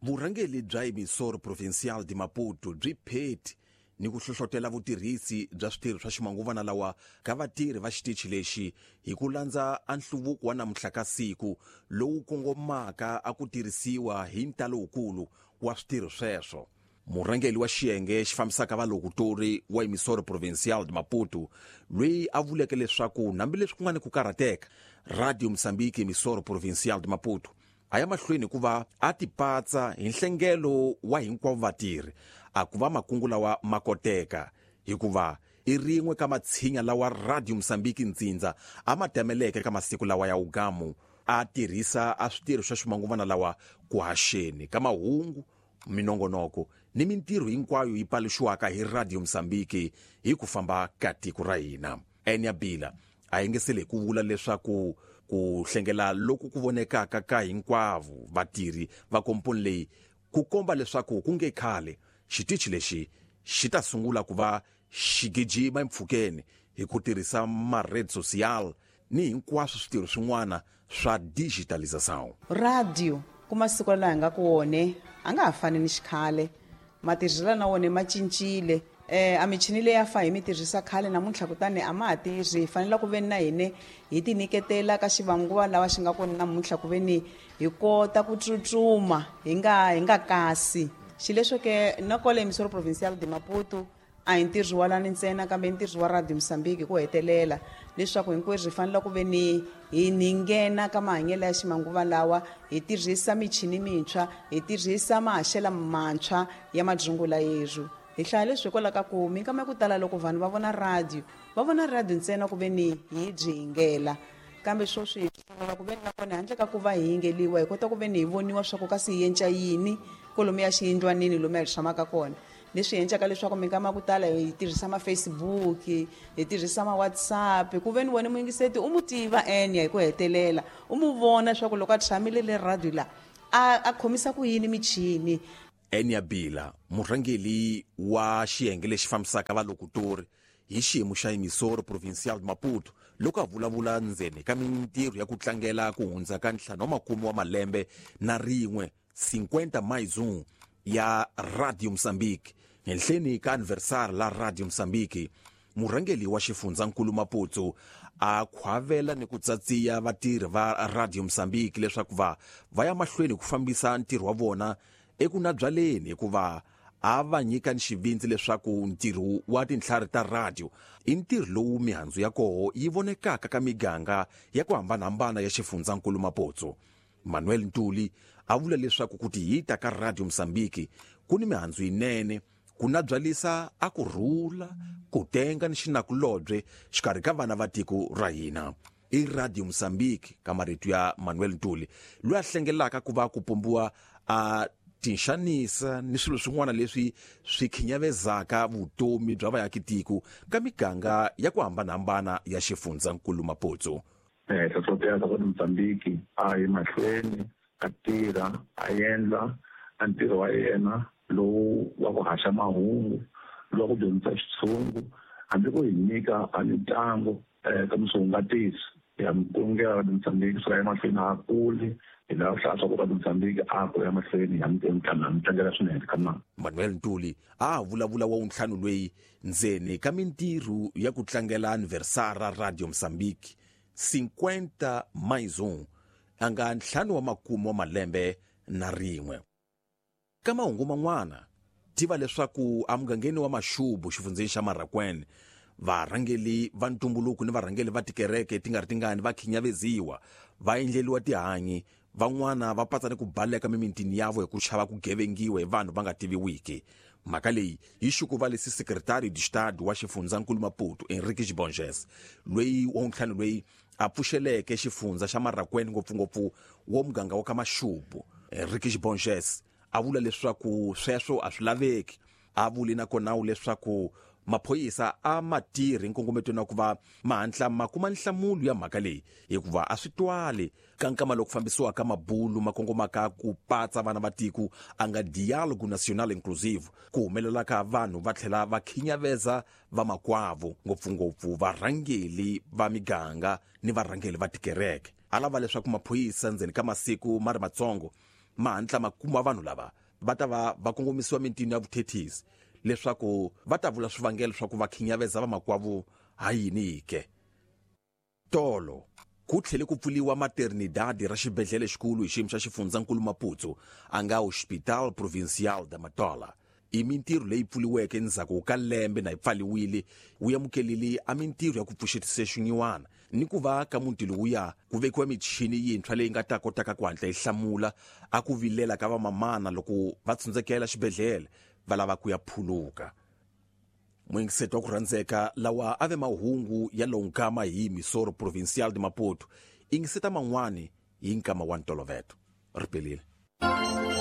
Vurhangeli bya Emissora Provincial de Maputo byi pheti ni ku hlohlotela vutirhisi bya switirho swa ximanguvana lawa ka vatirhi va xitichi lexi hi ku landza a nhluvuko wa namuntlha ka siku lowu kongomaka a ku tirhisiwa hi ntalo wukulu wa switirho sweswo. Murhangeli wa xiyenge xi fambisaka valokutori wa Emissora Provincial de Maputo loyi a vuleke leswaku hambileswi ku nga ni ku karhateka, Radio Moçambique Emissora Provincial de Maputo a ya mahlweni hikuva a tipatsa hi nhlengelo wa hinkwavo vatirhi a ku va makungu lawa ma koteka hikuva i rin'we ka matshinya lawa Radio Moçambique ntsindza a ma tameleke ka masiku lawa ya ugamu a tirhisa a switirho swa ximanguvana lawa ku haxeni ka mahungu, minongonoko ni mintirho hinkwayo yi paluxiwaka hi Radio Moçambique hi ku famba ka tiko ra hina. Enya Bila a yengesele hi ku vula leswaku ku hlengela loku ku vonekaka ka hinkwavo vatirhi va komponi leyi ku komba leswaku ku nge khale xitichi lexi xi ta sungula ku va xi gijima empfhukeni hi ku tirhisa ma-rede social ni hinkwaswo switirho swin'wana swa digitalização. Radio ku masiku lawa hi nga ku wone a nga ha fani ni xikhale, matirhiselo na wona ma cincile. A michini leyi a fa hi mi tirhisa khale namuntlha kutani a ma ha tirhi. Hi fanele ku veni na hine hi ti nyiketela ka xivanguva lawa xi nga kona namuntlha ku veni hi kota ku tsutsuma hi nga hi nga kasi. Xileswo ke na kwale Emissora Provincial de Maputo a hi ntirho wa lani ntsena kambe i ntirho wa Radio Mozambique hi ku hetelela leswaku hinkwerhu hi fanele ku ve ni hi ni nghena ka mahanyelo ya ximanguva lawa, hi tirhisa michini mintshwa, hi tirhisa mahaxelo mantshwa ya madyungula yerhu. Hi hlaya leswi hikwalaho ka ku minkama ya ku tala loko vanhu va vona radio, va vona radio ntsena ku ve ni hi byi yingela. Kambe sweswi hi sungula ku ve ni na kona handle ka ku va hi yingeliwa hi kota ku ve ni hi voniwa swa ku kasi hi yenca yini kolomuya xiyindlwanini lomu hi tshamaka kona. Leswi endlaka leswaku minkama ya ku tala hi tirhisa ma-Facebook, hi tirhisa ma-WhatsApp ku ve ni wena muyingiseti u mu tiva enya hi ku hetelela, u mu vona leswaku loko a tshamile le radio la a khomisa ku yini michini. Enya Bila, murhangeli wa xiyenge lexi fambisaka valokutori hi xiyimo xa Emissora Provincial de Maputo, loko a vulavula ndzeni ka mintirho ya ku tlangela ku hundza ka 50 wa malembe na rin'we 50 mais 1 ya Radio Moçambique henhleni ka aniversari la Radio Moçambique, murhangeli wa xifundzankulu Maputo a khwavela ni ku tsatsiya vatirhi va Radio Moçambique leswaku va va ya mahlweni ku fambisa ntirho wa vona eku nabyaleni hikuva a va nyika ni xivindzi leswaku ntirho wa tintlhari ta radio i ntirho lowu mihandzu ya koho yi vonekaka ka miganga ya ku hambanahambana ya xifundzankulu Maputo. Manuel Ntuli a vula leswaku ku tihita ka Radio Mozambique ku ni mihandzu yinene ku nabyalisa a ku rhula, ku tenga ni xinakulobye xikarhi ka vana va tiko ra hina. I Radio Mozambique ka marito ya Manuel Ntuli loyi a hlengelaka ku va ku pombiwa a tinxanisa ni swilo swin'wana leswi swi khinyavezaka vutomi bya vaakitiko ka miganga ya ku hambanahambana ya xifundzankulu Maputo. Hlohlotela swa ku Mozambique a yi mahlweni a tirha a endla a ntirho wa yena lowu wa ku haxa mahungu, lowu wa ku dyondzisa xitshungu, hambi ku hi nyika a mitlangu ka miswihungatisi ya mukongela Radio Mozambique suka emahlweni a kuli hi lava ku hlaya swa ku Radio Mozambique a kula emahlweni ya mi tlangela swinene ka na. Manuel Ntuli a vulavula wa wuntlhanu loyi ndzeni ka mintirho ya ku tlangela aniversara Radio Mozambique 50 mais 1 a nga ntlhanu wa makume wa malembe na rin'we. Ka mahungu man'wana, tiva leswaku emugangeni wa Mashubu xifundzheni xa Marraquene, varhangeli va ntumbuluko ni varhangeli va tikereke ti nga ri tingani va khinyaveziwa, va endleliwa tihanyi, van'wana va patsa ni ku baleka mimitini yavo hi ku chava ku gevengiwa hi vanhu va nga tiviwiki. Mhaka leyi yi xukuvalise Secretário de Estado wa xifundzankulu Maputo, Henriques Borges, loyi wa wuntlhanu loyi a pfuxeleke xifundza xa Marraquene ngopfungopfu wo muganga wa ka Mashubu. Henriques Borges a vula leswaku sweswo a swi laveki. A vuli na konawu leswaku maphorisa a ma tirhi nkongometweni wa ku va ma hatla ma kuma nhlamulo ya mhaka leyi hikuva a swi twali ka nkama loku fambisiwaka mabulu ma kongomaka ku patsa vana va tiko a nga Diálogo Nacional Inclusivo ku humelelaka vanhu va tlhela va khinyaveza vamakwavo ngopfungopfu varhangeli va miganga ni varhangeli va tikereke. A lava leswaku maphorisa ndzeni ka masiku ma ri matsongo Ma hantla ma kuma vanhu lava va ta va va kongomisiwa mintini ya vuthethisi leswaku va ta vula swivangelo swa ku va khinyaveza vamakwavo ha yini ke. Tolo ku tlhele ku pfuliwa maternidade ra xibedhlele xikulu hi xiyimo xa xifundzankulu Maputo a nga Hospital Provincial da Matola. I mintirho leyi pfuliweke endzhaku ka lembe na yi pfaliwile wu amukelile a mintirho ya ku pfuxetisa xinyiwana ni ku va ka muti lowuya ku vekiwa michini yintshwa leyi nga ta kotaka ku hatla yi hlamula a ku vilela ka vamamana loko va tsundzekela xibedhlele va lava ku ya phuluka. Muyingiseti wa ku rhandzeka, lawa a ve mahungu ya lowu nkama hi Emissora Provincial de Maputo. Ingiseta man'wani hi nkama wa ntoloveto. Ri pelile.